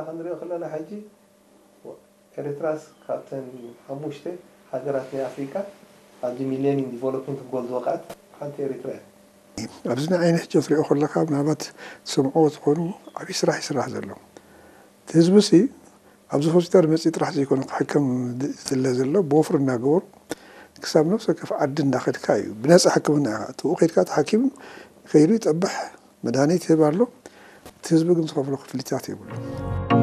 ክንሪኦ ከለና ሕጂ ኤርትራስ ካብተን ሓሙሽተ ሃገራት ናይ ኣፍሪካ ኣብዚ ሚሌኒየም ዲቨሎፕመንት ጎል ዝወቃት ሓንቲ ኤርትራ እያ። ኣብዚ ንዓይ ንሕጂ ክትሪኦ ከለካ ምናልባት ትሰምዕዎ ትኾኑ ዓብዪ ስራሕ ይስራሕ ዘሎ። እቲ ህዝቢ ሲ ኣብዚ ሆስፒታል መፂ ጥራሕ ዘይኮነ ክሕከም ዝለ ዘሎ ብወፍሪ እናገበሩ ክሳብ ነብሲ ወከፍ ዓዲ እንዳኸድካ እዩ ብነፃ ሕክምና ኢኻ እትብኡ ከድካ ተሓኪሙ ከይዱ ይጠብሕ መድሃኒት ይህብ ኣሎ። እቲ ህዝቢ ግን ዝኸፍሎ ክፍሊታት የብሉ።